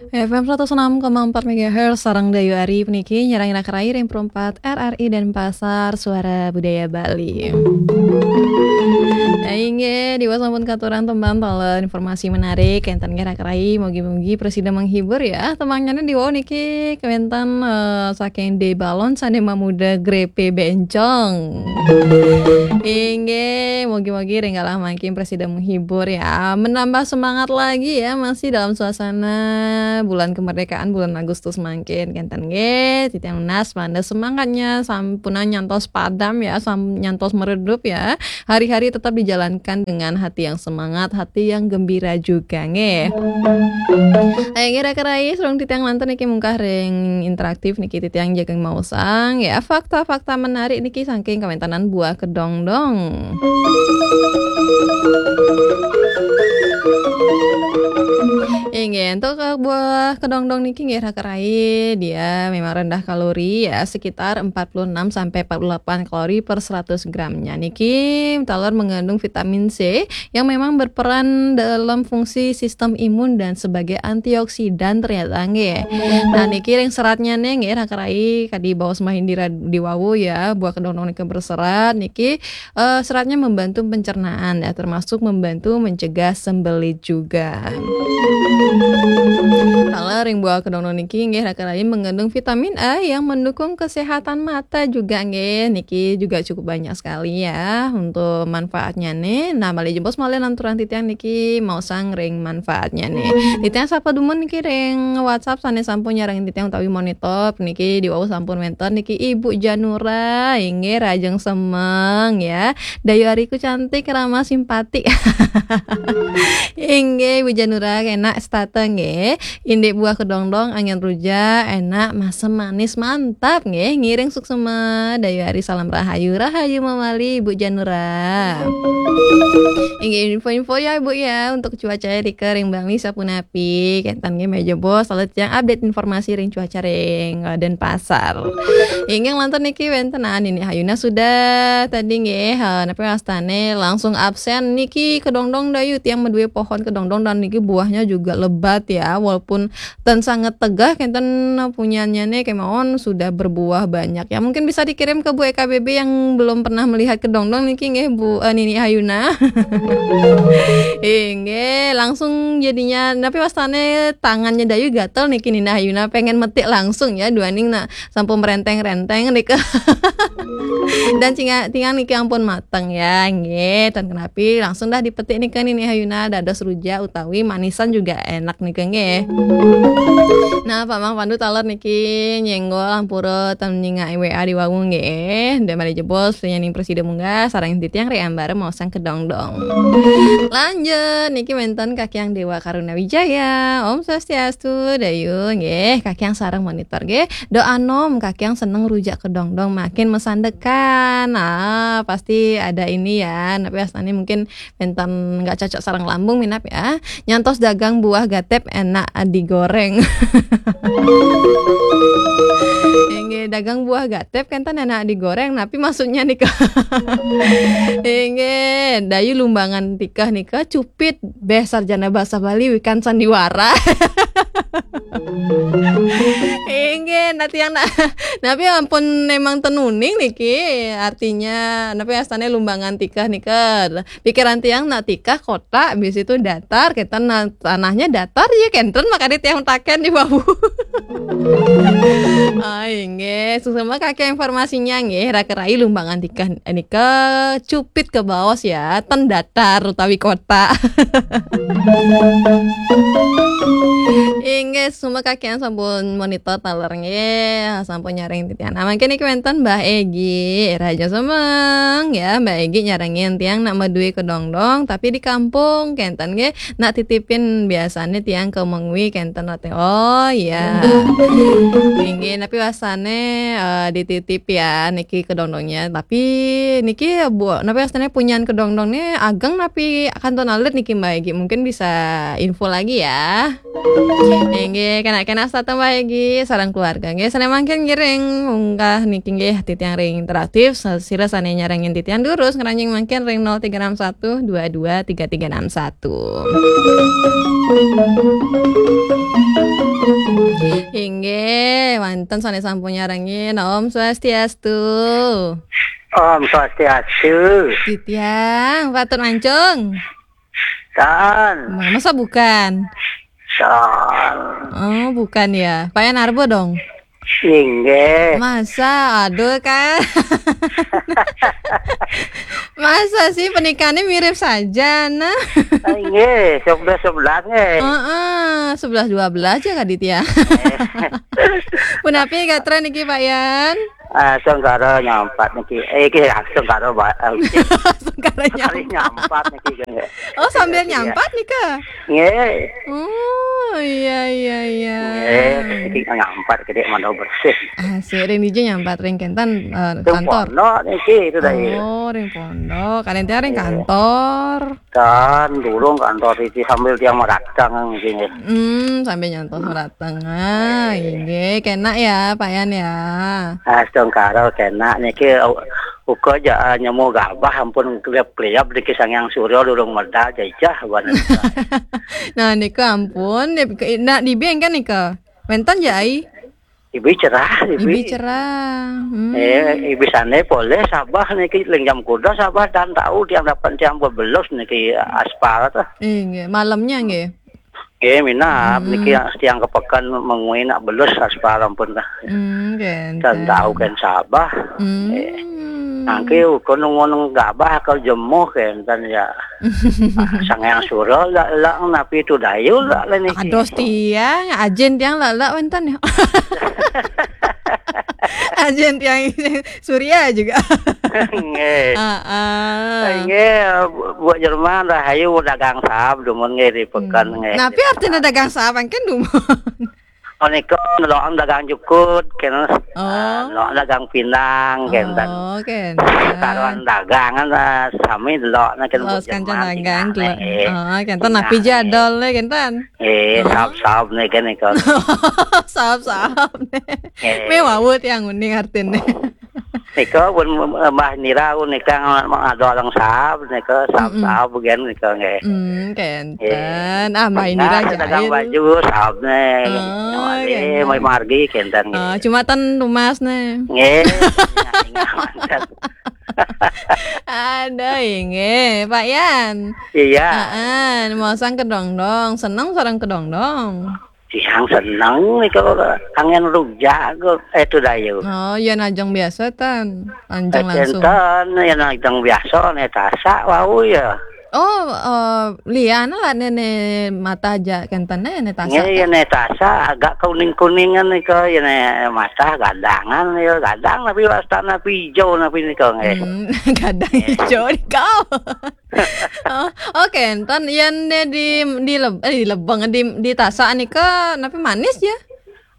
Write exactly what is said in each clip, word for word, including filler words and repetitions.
F M seratus enam koma empat megahertz, sareng Dayu Ari puniki nyerang rak rai ring perempat R R I Denpasar, Suara Budaya Bali. Nah, inggih, diwaos sampun katuran tembang taler informasi menarik, enten nggih rak rai, mugi-mugi prasida menghibur ya. Tembangnya diwaos niki kawénten, eh, saking D Balon sané mamuda grepe bencong. Inggih, mugi-mugi ring galah mangkin prasida menghibur ya. Menambah semangat lagi ya, masih dalam suasana bulan kemerdekaan, bulan Agustus mangkin. Kenten nggih, titiang nunas mangda semangatnya sampunang nyantos padam ya, sam-, nyantos meredup ya. Hari-hari tetap dijalankan dengan hati yang semangat, hati yang gembira juga nggih. Ayo nggih, rak rai, sareng titiang lantur niki mungkah ring interaktif niki titiang jagang maosang ya, fakta-fakta menarik niki saking kawéntenan buah kedongdong. Inggih, untuk, eh, buah kedongdong niki nggih rak rai, dia memang rendah kalori ya, sekitar empat puluh enam sampai empat puluh delapan kalori per seratus gramnya. Niki taler mengandung vitamin C yang memang berperan dalam fungsi sistem imun dan sebagai antioksidan ternyata nggih. Nah, niki ring seratnya nih nggih, rak rai, kadi baos Mahindira diwawu ya, buah kedongdong niki berserat, niki, eh, seratnya membantu pencernaan ya, termasuk membantu mencegah sembelit juga. Kalau ring buah kedongdong niki nggih, rak rai, mengandung vitamin A yang mendukung kesehatan mata juga nggih. Niki juga cukup banyak sekali ya untuk manfaatnya nih. Nah, malih jebos malih lanturang titiang niki maosang ring manfaatnya nih. Titiang sapa dumun niki ring WhatsApp sané sampun nyarengin titiang utawi monitor niki diwau sampun wénten niki Ibu Janura, inggih rahajeng semeng ya. Dayu Ariku cantik, ramah, simpati. Inggih, Ibu Janura, enak setata nggih. Indik buah kedongdong, angin rujak, enak, masem, manis, mantap nggih. Ngiring suksema, Dayu Ari, salam rahayu, rahayu mawali, Ibu Janura. Inggih, info-info ya, Ibu ya, untuk cuaca rika ring Bali sapunapi. Kenten nggih, malih jebos, lalu tiang update informasi ring cuaca ring, eh, Denpasar. Inggih, lantur niki wénten, ah, Nini Hayuna sudah tadi nggih, eh, napi wastané langsung absen niki kedongdong Dayu, tiang madué pohon kedongdong dan niki buahnya juga lebat ya, walaupun ten sangat tegah kenten punyanyané kemawon sudah berbuah banyak. Ya, mungkin bisa dikirim ke Bu E K B B yang belum pernah melihat kedongdong niki nggih, Bu, eh, Nini Hayuna. Inggih, langsung jadinya, napi wastané tangannya Dayu gatel niki Nini Hayuna, pengen metik langsung ya, duaning nak sampun merenteng-renteng nika. Dan cinga-, tiang niki ampun mateng ya, nggih. Tan kenapi, langsung dah dipetik nika Nini Hayuna, dados rujak utawi manisan juga enak nika nggih. Nah, Pak Mang Pandu taler niki nyenggol ampura tan nyingak W A diwawu nggih. Dan malih jebos, nyening prasida munggah, sareng titiang ri ambara maosang kedongdong. Lanjut, niki wénten Kakiang Dewa Karuna Wijaya. Om Swastiastu, Dayu nggih, Kakiang sareng monitor nggih. Doa nom, Kakiang seneng rujak kedongdong makin mesandekan. Ah, pasti ada ini ya. Napi wastané mungkin wénten nggak cocok sareng lambung minab ya. Nyantos dagang buah gatép enak digoreng. Inggih, dagang buah gatép kenten enak digoreng. Napi maksudnya nika? Inggih, Dayu lumbangan tikeh nika cupit béh sarjana bahasa Bali wikan sandiwara. Inggih, nah tiang na-, napi ampun memang ten uning niki, artinya napi wastané lumbangan tikeh nika. Pikiran tiang nak tikeh kotak, bis itu datar, kita na-, tanahnya datar ya kenten, makanya tiang taken diwawu. Ah, inggih, suksma Kakiang informasinya nggih, rak rai lumbangan tikeh nika cupit kabaos ya, ten datar utawi kotak. Inggih, suksma Kakiang sampun monitor taler nggih, sampun nyarengin titiang. Nah, mangkin niki wénten Mbah Egi, rahajeng semeng ya, Mbah Egi nyarengin tiang nak madué kedongdong, tapi di kampung kenten nggih, nak titipin biasané tiang ke Mengwi kenten rate. Oh iya. Inggih, napi wastané, eh, dititip ya niki kedongdongnya. Tapi niki ya, Bu, napi wastané punyan kedongdongnya ageng napi kantun alit niki, Mbah Egi? Mungkin bisa info lagi ya. Inggih, kena-kena setata bae nggih sareng keluarga. Nggih, sané mangkin ngiring munggah niki nggih titiang ring interaktif, sira sané nyarengin titiang durus ngranjing mangkin ring nol tiga enam satu dua dua tiga tiga enam satu. Inggih, wonten sané sampun nyarengin. Om Swastiastu. Om Swastiastu. Titiang, patut mancung. Tan. Ma-, masa bukan? Tan. Oh, bukan ya. Pak Yan Arbo dong. Inggih. Masa, aduh kan. Masa sih pernikahannya mirip saja, nah. Inggih, sebelas sebelas nggih. Heeh, sebelas dua belas ya Kak Ditya. Punapi gatra niki Pak Yan? Ah, sengkara nyampat niki. Eh, iki ya, sengkara ba-, eh, Sengkara kali nyampat. Nyampat niki nggih. Oh, sambil Iya. Nyampat nika? Nggih. Oh, iya, iya, iya. Nggih, iki nyampat gede mandau bersih. Ah, si ring dija nyampat ring kenten, eh, Ring kantor. Pondok niki itu dah, iya. Oh, ring pondok. Kalian tiang ring Iya. Kantor. Kan durung kantor iki sambil tiang meratang niki nggih. Hmm, sambil nyantos meratang. Ah, Iya. Inggih, kena ya, Pak Yan ya. Ah, sengkara kena niki, u-, uga ja, ah, nyemu gabah ampun kliap-kliap niki Sang Hyang Surya durung medal jajah ban. Nah, niku ampun, niki, nak dibi kan nika. Wenten ja ai. Ibi cerah, Ibi ibi. Cerah. Hmm. Eh, ibi sané polih Sabah niki ling jam kuda Sabah dan tahu tiang dapat tiang bebelus niki aspal tuh. Inggih, malamnya nggih. Nggih, minab Hmm. niki tiang kepekan mengui nak belus aspal ampun dah. Hmm, Dan tahu kan Sabah. Hmm. Eh. Nangke uga nunggu gabah ke jemuh kenten ya. Sang Hyang Surya lak, lak napi tu dayu lak le niki. Ados tiang, ajin tiang lak, lak wenten ya. Ajin tiang Surya juga. Nggih. Heeh. Nggih, Bu Jerman rahayu dagang sahab dumun nggih di pekan Hmm. Nggih. Napi artinya dagang sahab kan dumun? Oh, nika ndelok dagang jukut, kena. Oh. Ah, ndelok dagang pinang, kenten. Oh, kenten. Karuan dagangan, ah, sami ndelok, nah, kenten. Oh, Bu sekancan Jerman, dagang, tinggal, ndelok. Eh. Oh, kenten. Tinggal, napi eh. Jadol, eh, kenten. Eh, Oh. Sahab-sahab nih kan, nih, kan. Sahab-sahab nih. Eh. Mewah, Bu, tiang uning artinya. Nika pun Mbah Nira nika ngadolong sahab nika, sahab-sahab gen nika nggih. Hmm, kenten. Ah, Mbah Nira dagang baju sahab nih. Oh, kenten. Mai margi kenten nggih. Oh, cuma ten lumas nih. Nggih. Ada inggih, Pak Yan. Iya. Heeh, mau sang kedongdong, seneng sareng kedongdong. Tiang seneng nika angin rujak kok, eh, tu dayu. Oh, ya najeng biasa tan. Anjeng langsung. Kenten, ya najeng biasa, ne tasak wau ya. Oh, eh, lian lah ne, ne mata aja kenten ne, ne tasak. Nggih, ya ne tasak agak kuning-kuningan nika, ya ne mata gadangan ya, gadang tapi wasta napi hijau napi nika nggih. Hmm, gadang hijau nika. Oh, oh, kenten yen di, di leb-, eh, di lebeng, di, di tasak nika napi manis ya?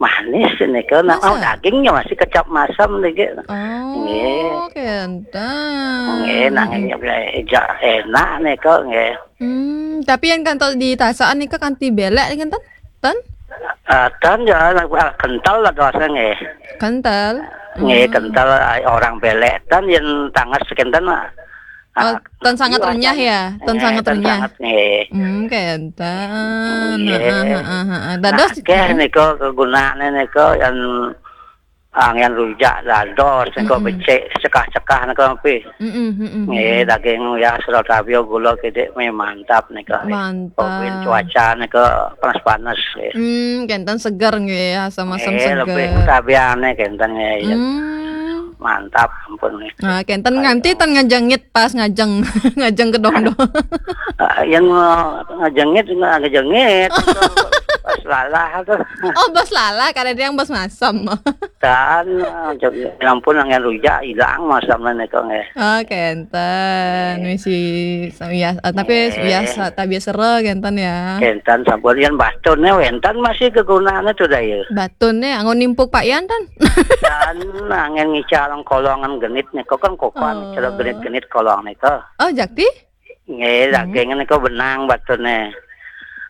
Manis nika, nak mau dagingnya masih kecap masam niki. Oh, nggih. Kenten. Nggih, nanging enak nika nggih. Hmm, tapi yang kantos di tasak nika kanti belek kenten? Ten? Eh, ten ya, ah, kental lah dosnya nggih. Kental? Nggih, hmm. Kental, ah, orang belek ten yang tangas kenten, ah. Oh, ah, ten sangat renyah ya? Ten sangat renyah. Sangat, nggih. Hmm, kenten. Nggih. Heeh, heeh, heeh. Dados nah, akeh nika kegunaane nika yang angen rujak dados nika becik cekah-cekah nika pi. Heeh, heeh. Nggih, daging ya sira tabia gula kidik mi mantap nika. Mantap. Cuaca nika panas-panas nggih. Hmm, kenten seger nggih, asam-asam seger. Nggih, lebih tabiane kenten nggih. Hmm. Mantap ampun nggih. Nah, kenten nganti ten ngejengit pas ngajeng, ngajeng kedongdong. Ah, yang, eh, ngejengit, ngejengit. Pas lalah tuh. Oh, bos lalah, kada ada yang bos masam. Tan, eh, ampun, yang rujak hilang masam nika nggih. Oh, kenten. Nggih. Misi, biasa, tapi biasa, tapi biasa kenten ya. Kenten sampun yang batun ya, wenten masih kegunaannya tuh dah ya. Batun ya, anggo nimpuk Pak Yan tan. Dan angin ngical kolongan genit nika kan kopan, oh. Ngical genit-genit kolong nika. Oh, jakti? Nggih, hmm. Daging nika benang batune.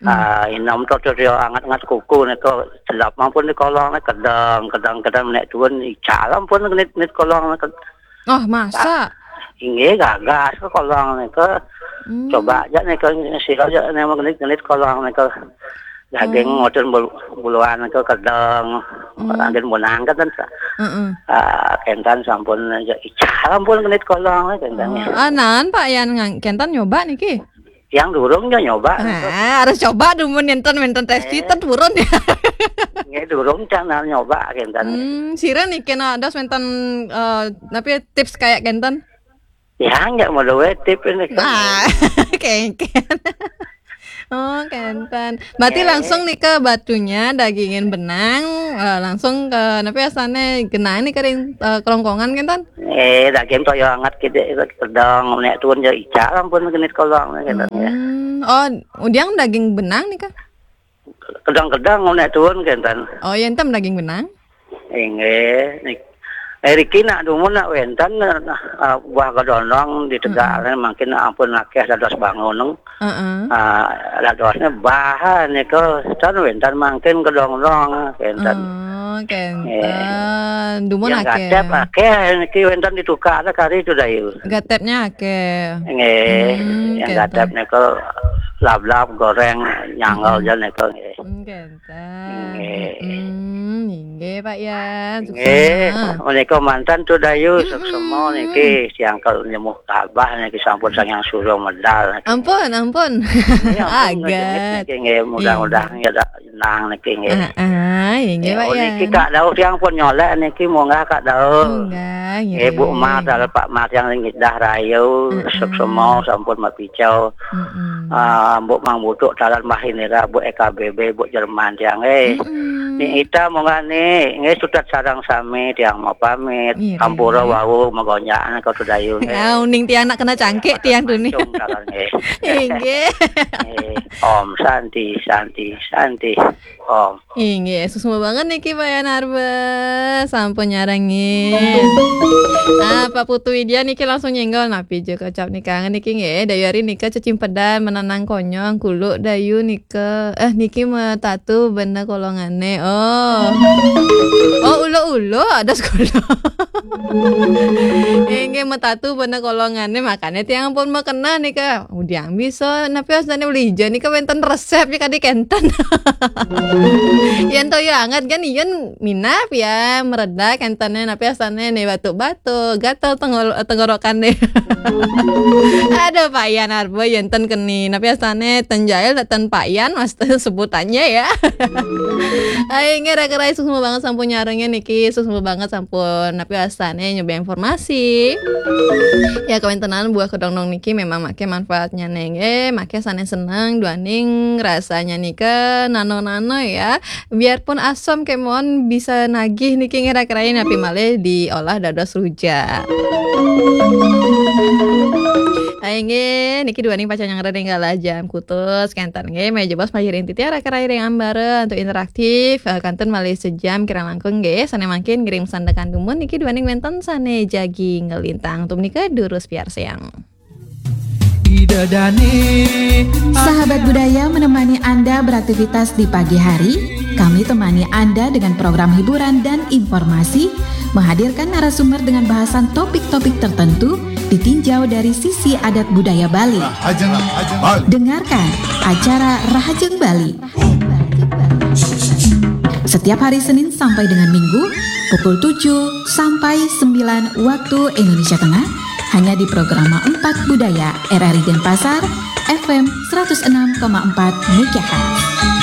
Ah, inom to, to, to, anget-anget kuku nika, sedap ampun di kolong nika, kedeng, kedeng, kedeng, nek tuun ical ampun ngenit-ngenit kolong nika. Oh, masa? Inggih, gagas ke kolong nika. Hmm. Coba aja nika, sira aja nek ngenit-ngenit kolong nika. Daging, oh, ngoten bul-, buluan nika, kedeng. Hmm. Anggen munang kan, sa-, heeh, ah, kenten sampun aja ical ampun ngenit kolong kenten. Oh, ya. Ah, naon, Pak Yan, ngang-, kenten nyoba niki? Yang durung nyo-, nyoba. Ah, harus coba dulu, mun enten, enten tes, eh, kita turun ya. Nggih, durung can nyoba kenten. Hmm, sira niki nados wenten, eh, napi, tips kayak kenten? Ya, nggak mau duwe tips ini. Ah, kengken. Oh, kenten. Berarti, eh, langsung nika batunya dagingin benang, eh, langsung ke, napi asane, genah nika ring, eh, kerongkongan kenten? Eh, daging toya anget kidik, kedeng, nek tuun ya ical ampun ngenit kolong, nih, gitu, ya. Hmm. Oh, udiang daging benang nika? Kedeng-kedeng, nek tuun, kenten. Oh, ya, enten daging benang? Inggih, nik-, eh, riki nak dumun nak wenten, nah, ah, buah kedondong di Tegal, hmm, mangkin ampun akeh dados bangun. Heeh. Ah, dadosnya bahan nika, tan wenten mangkin kedondong, kenten. Oh, kenten. Eh, dumun yang akeh. Gatep akeh niki wenten ditukar kari itu, Dayu. Gatepnya akeh. Nggih, hmm, yang kenten. Gatep nika lablab goreng nyanggal, hmm, aja nika, nggih. Hmm, kenten. Nggih. Hmm, nggih, Pak Yan. Nggih, suksma. Menika mantan tuh, Dayu, hmm, suksma niki, siang kalau nemu kabah niki sampun sangang surya medal niki. Ampun, ampun. Nggih, ampun, agak ngejengit niki, nggih, mudah-mudahan, iya, ya ada nang niki, nggih. Ah, ah, iya, nggih, eh, Pak, oh, niki, ya. Kak Daud yang pun nyolek niki, munggah Kak Daud. Munggah, iya, eh, Bu, iya. Mar, dalam Pak Mar yang ngidah rayu, ah, ah, suksma sampun mapicau. Mm-mm. Ah, Mbok Mang Butuk talan Mbah Inira, Bu E K B B, Bu Jerman tiang, eh. Mm-mm. Ni ita munggah ni, nggih, sutat sareng sami tiang mau pamit. Iya, ampura, iya. Wau magonjak kau tu, Dayu, nggih. Ah, uning tiang nak kena cangkik tiang tu ni. Mancung talan, nggih. Inggih. Eh, Om Santi, Santi, Santi. Om. Inggih, suksma banget niki Pak Yan Arba. Sampun nyarengin. Ah, Pak Putu Widya niki langsung nyenggol, napi je kecap nika niki nggih. Dayu ari nika cecimpedan menanang konyong, kuluk Dayu nika. Eh, niki metatu bener kolongane. Oh. Oh, ulo-ulo ada sekolah. Inggih, metatu bener kolongane, makanya tiang pun makena nika. Udiang bisa, napi asane uli ijo nika wenten resep ya kadi kenten. Yen toya anget kan, yen minap ya, mereda kentene, napi asane ne batuk-batuk, gatel tenggol-, tenggorokan deh. Ada Pak Yan Arbo, yen ten keni, napi asane ten jail, ten Pak Yan, mas sebutannya ya. Ayo, nggih, raka-raka, suksma banget sampun nyarengin niki, suksma banget sampun, napi asane nyoba informasi. Ya, kawentenan buah kedondong niki memang make manfaatnya, neng. Eh, make sane seneng, duaning rasanya nika nano-nano ya. Biarpun asam kemon bisa nagih niki ngira-kirain, tapi malih diolah dados rujak. Ayo, nggih, niki duaning pacang nyanggra ring galah jam kutus, kenten nggih, meja bos majir inti tiara kerai ring ambara untuk interaktif, eh, kantun malih sejam kirang langkung nggih, sane mangkin ngiring sandekan dumun niki duaning wenten sane jagi ngelintang. Tum nika durus piarsayang. Sahabat budaya menemani Anda beraktivitas di pagi hari. Kami temani Anda dengan program hiburan dan informasi, menghadirkan narasumber dengan bahasan topik-topik tertentu, ditinjau dari sisi adat budaya Bali. Rahajeng Bali. Dengarkan acara Rahajeng Bali. Setiap hari Senin sampai dengan Minggu, pukul tujuh sampai sembilan waktu Indonesia Tengah, hanya di Programa empat Budaya R R I Denpasar, F M seratus enam koma empat megahertz.